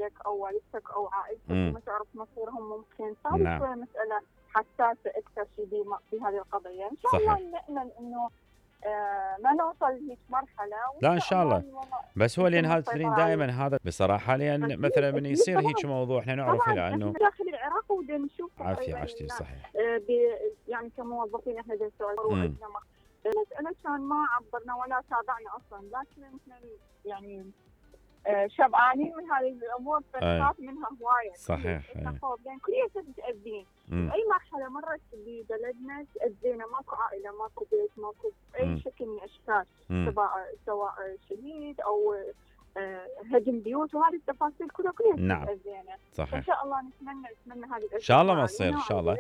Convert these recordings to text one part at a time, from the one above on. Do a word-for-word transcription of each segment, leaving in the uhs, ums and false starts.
والدك او والدتك او عائلتك مم. وما تعرف مصيرهم ممكن صارت نعم. شويه مساله حساسه اكثر شيء بم- في هذه القضيه. ان شاء الله صحيح. نامل انه آه ما نوصل لهيك مرحله، لا ان شاء الله، الوضع بس هو لان يتم هذا السيطرة تدرين عليه. دائما هذا بصراحه، لان أكيد- مثلا من أكيد يصير طبعاً. هيك موضوع احنا نعرف طبعا له احنا انه داخل العراق ودنا نشوف عافيه تقريبا عشتي الناس، صحيح. آه ب- يعني كموظفين احنا نسوي مم. المساله كان ما عبرنا ولا تابعنا اصلا، لكن احنا يعني آه، شبعانين من هذه الامور فنخاف منها هوايه. صحيح. احنا خوف لان كلية متاذين. مم. اي مرحله مرت ببلدنا تاذينا، ماكو عائله، ماكو بيت، ماكو اي مم. شكل من الاشكال، مم. سواء سواء شهيد او آه، هدم بيوت، وهذه التفاصيل كلها كلها نعم. تاذينا. فان صحيح. شاء الله نتمنى نتمنى هذه الاشياء ان شاء الله ما تصير ان شاء الله.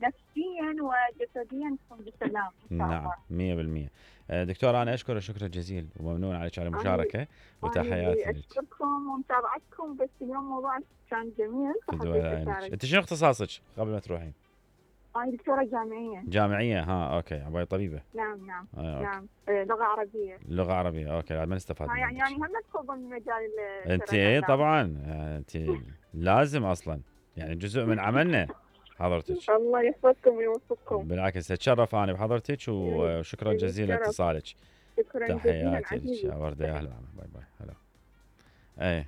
نفسيا وجسديا تكون بسلام ان شاء نعم الله. مية بالمية. دكتور انا اشكرك شكرا جزيلا وممنون عليك على المشاركه وتحياتي لك. اشكركم ومتابعتكم، بس اليوم موضوع كان جميل فحبيت اشارك. انت شنو اختصاصك قبل ما تروحين؟ انا دكتوره جامعيه. جامعيه ها اوكي، عباية طبيبه. نعم نعم. آه، نعم آه، لغه عربيه. لغه عربيه اوكي، ما نستفاد آه، يعني يعني منك. هم تدخل ضمن مجال انت ايه طبعا، انت لازم اصلا يعني جزء من عملنا حضرتك. الله يحفظكم ويوفقكم. بالعكس اتشرف انا بحضرتك وشكرا جزيلا لاتصالك. شكرا جزيلا تحياتي لك يا ورده، يا اهلا باي باي. هلا ايه